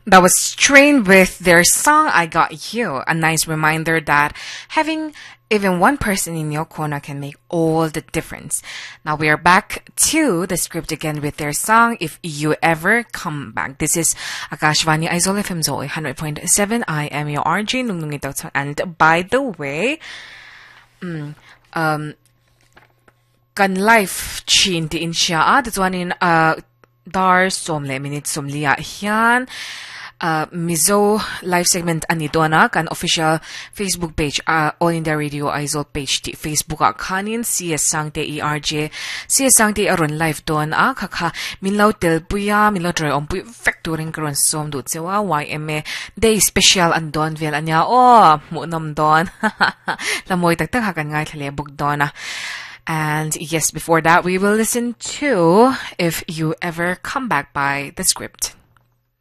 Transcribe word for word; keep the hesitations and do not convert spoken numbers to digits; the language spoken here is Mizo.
That was Train with their song I Got You. A nice reminder that having even one person in your corner can make all the difference. Now we are back to the script again with their song If You Ever Come Back. This is Akashvani Aizawl FM Zoe one hundred point seven. I am your RJ Nungnungi Doctor. And by the way, mm, um, kan life chin ti in siya a tichuanin uh, dar sawm leh minute sawmli ah hian uh, Mizo live segment ani dona kan official Facebook page uh, All India Radio Aizawl page ti Facebook ah khanin CS Sangte E R J CS Sangte aron live don a kha kha min lo tel puia min lo try om pui vek turin karon som du chewa Y M A Day special an don vel ania o mu nom don lamoi tak tak ha kan ngai thlele buk dona. And yes, before that, we will listen to If You Ever Come Back by The Script.